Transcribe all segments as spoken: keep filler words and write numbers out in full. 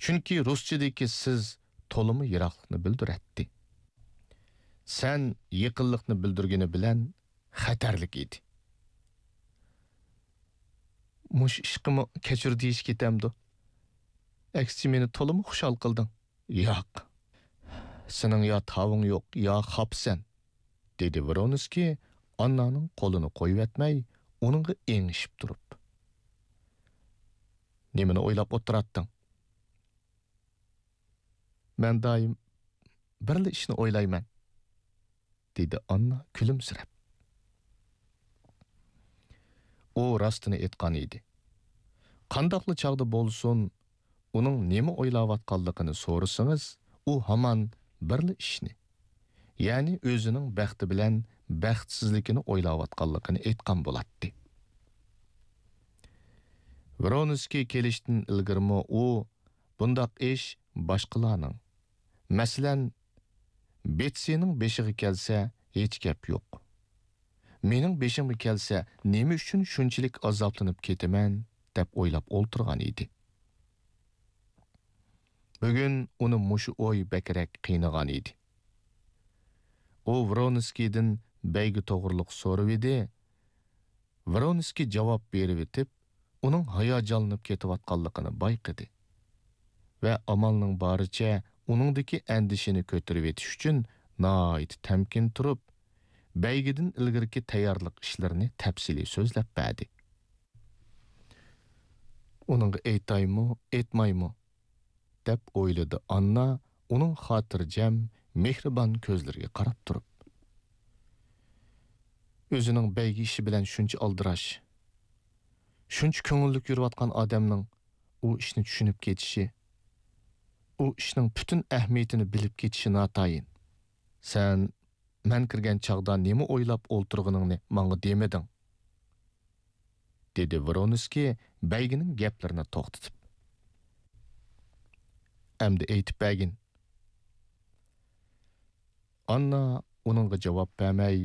چۈنكى رۇسچىدىكى «سىز» تولىمۇ يىراقلىقنى بىلدۈرەتتى. «سەن» يېقىنلىقنى بىلدۈرگىنى بىلەن خەتەرلىك ئىدى. «مۇشۇ ئىشقىمۇ كەچۈر دېيىش كېتەمدۇ؟ ئەكسىچە مېنى تولىمۇ خۇشال قىلدىڭ.» «ياق. سېنىڭ يا تاۋىڭ يوق، يا خاپىسەن.» دېدى ۋرونسكىي ئاننانىڭ قولىنى قويۇۋەتمەي، ئۇنىڭغا ئېڭىشىپ تۇرۇپ. «نېمىنى ئويلاپ ئولتۇراتتىڭ؟» «مەن دائىم بىرلا ئىشنى ئويلايمەن.» دېدى ئاننا كۈلۈمسىرەپ. ئۇ راستىنى ئېيتقان ئىدى. قانداقلا چاغدا بولسۇن، ئۇنىڭ نېمە ئويلاۋاتقانلىقىنى سورىسىڭىز، ئۇ ھامان بىرلا ئىشنى، يەنى ئۆزىنىڭ بەختى بىلەن بەختسىزلىكىنى ئويلاۋاتقانلىقىنى ئېيتقان بولاتتى. ۋرونسكىي كېلىشتىن ئىلگىرىمۇ ئۇ بۇنداق ئىش باشقىلارنىڭ، مەسىلەن، بېتسىنىڭ بېشىغا كەلسە، ھېچ گەپ يوق. مېنىڭ بېشىمغا كەلسە، نېمە ئۈچۈن شۇنچىلىك ئازابلىنىپ كېتىمەن، دەپ ئويلاپ ئولتۇرغان ئىدى. بۈگۈن ئۇنى مۇشۇ ئوي بەكرەك قىينىغان ئىدى. ئۇ ۋرونسكىيدىن بەيگە توغرۇلۇق سورىۋىدى. ۋرونسكىي جاۋاب بېرىۋېتىپ، ئۇنىڭ ھاياجانلىنىپ كېتىۋاتقانلىقىنى بايقىدى ۋە ئامالنىڭ بارىچە ئۇنىڭدىكى ئەندىشىنى كۆتۈرۈۋېتىش ئۈچۈن ناھايىتى تەمكىن تۇرۇپ، بەيگىدىن ئىلگىرىكى تەييارلىق ئىشلىرىنى تەپسىلىي سۆزلەپ بەردى. «ئۇنىڭغا ئېيتايمۇ، ئېيتمايمۇ؟» دەپ ئويلىدى ئاننا ئۇنىڭ خاتىرجەم، مېھرىبان كۆزلىرىگە قاراپ تۇرۇپ. «ئۆزىنىڭ بەيگە ئىشى بىلەن شۇنچە ئالدىراش، شۇنچە كۆڭۈللۈك يۈرۈۋاتقان ئادەمنىڭ ئۇ ئىشنى چۈشىنىپ كېتىشى، ئۇ ئىشنىڭ پۈتۈن ئەھمىيىتىنى بىلىپ كېتىشى ناتايىن. سەن مەن كىرگەن چاغدا نېمە ئويلاپ ئولتۇرغىنىڭنى ماڭا دېمىدىڭ.» دېدى ۋرونسكىي بەيگىنىڭ گەپلىرىنى توختىتىپ. «ئەمدى ئېيتىپ بەرگىن.» ئاننا ئۇنىڭغا جاۋاب بەرمەي،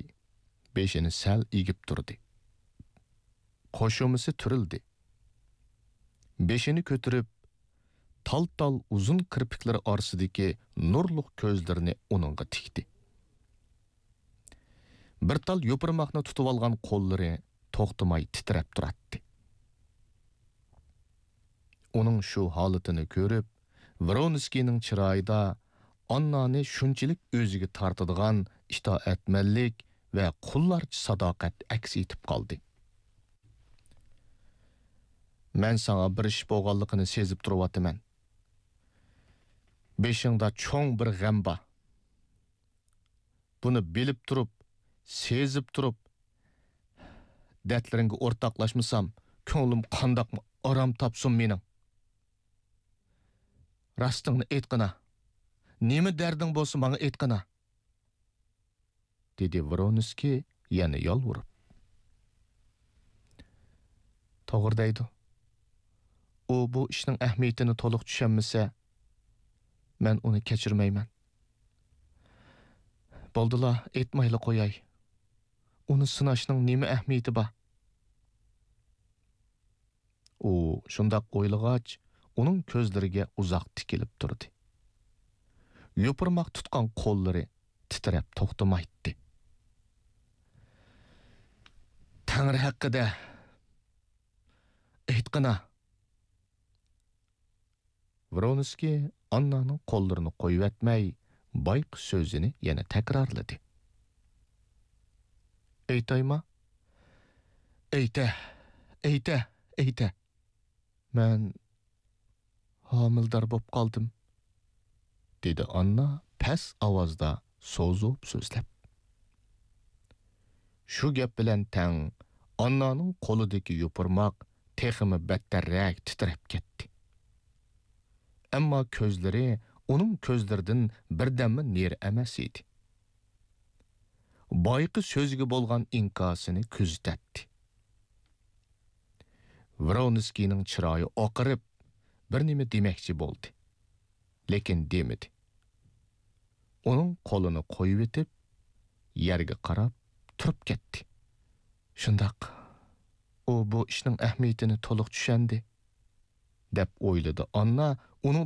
بېشىنى سەل ئېگىپ تۇردى. قوشۇمىسى تۈرۈلدى. بېشىنى كۆتۈرۈپ، تال-تال ئۇزۇن كىرپىكلىرى ئارىسىدىكى نۇرلۇق كۆزلىرىنى ئۇنىڭغا تىكتى. بىر تال يوپۇرماقنى تۇتۇۋالغان قوللىرى توختىماي تىترەپ تۇراتتى. ئۇنىڭ شۇ ھالىتىنى كۆرۈپ، ۋرونسكىينىڭ چىرايىدا ئاننانى شۇنچىلىك ئۆزىگە تارتىدىغان ئىتائەتمەنلىك ۋە قۇللارچە ساداقەت ئەكس ئېتىپ قالدى. «مەن ساڭا بىر ئىش بولغانلىقىنى سېزىپ تۇرۇۋاتىمەن. بېشىڭدا چوڭ بىر غەم بار. بۇنى بىلىپ تۇرۇپ، سېزىپ تۇرۇپ، دەردلىرىڭگە ئورتاقلاشمىسام، كۆڭلۈم قانداقمۇ ئارام تاپسۇن مېنىڭ؟ راستىڭنى ئېيتقىنا. نېمە دەردىڭ بولسا، ماڭا ئېيتقىنا.» دېدى ۋرونسكىي يەنە يالۋۇرۇپ. «توغرا دەيدۇ. ئۇ بۇ ئىشنىڭ ئەھمىيىتىنى تولۇق چۈشەنمىسە، مەن ئۇنى كەچۈرمەيمەن. بولدىلا، ئېيتمايلا قوياي. ئۇنى سىناشنىڭ نېمە ئەھمىيىتى بار؟» ئۇ شۇنداق ئويلىغاچ، ئۇنىڭ كۆزلىرىگە ئۇزاق تىكىلىپ تۇردى. يوپۇرماق تۇتقان قوللىرى تىترەپ توختىمايتتى. «تەڭرى ھەققىدە ئېيتقىنا.» ۋرونسكىي ئاننانىڭ قوللىرىنى قويۇۋەتمەي، بايىقى سۆزىنى يەنە تەكرارلىدى. «ئېيتايما؟ ئېيتە، ئېيتە، ئېيتە.» «مەن ھامىلىدار بوپ قالدىم.» دېدى ئاننا پەس ئاۋازدا سوزۇپ سۆزلەپ. شۇ گەپ بىلەن تەڭ ئاننانىڭ قولىدىكى يوپۇرماق تېخىمۇ بەتتەررەك تىترەپ كەتتى. ئەمما كۆزلىرى ئۇنىڭ كۆزلىرىدىن بىردەممۇ نېرى ئەمەس ئىدى. بايىقى سۆزىگە بولغان ئىنكاسىنى كۆزىتەتتى. ۋرونسكىينىڭ چىرايى ئاقىرىپ، بىر نېمە دېمەكچى بولدى، لېكىن دېمىدى. ئۇنىڭ قولىنى قويۇۋېتىپ، يەرگە قاراپ تۇرۇپ كەتتى. «شۇنداق، ئۇ بۇ ئىشنىڭ ئەھمىيىتىنى تولۇق چۈشەندى.» دەپ ئويلىدى ئاننا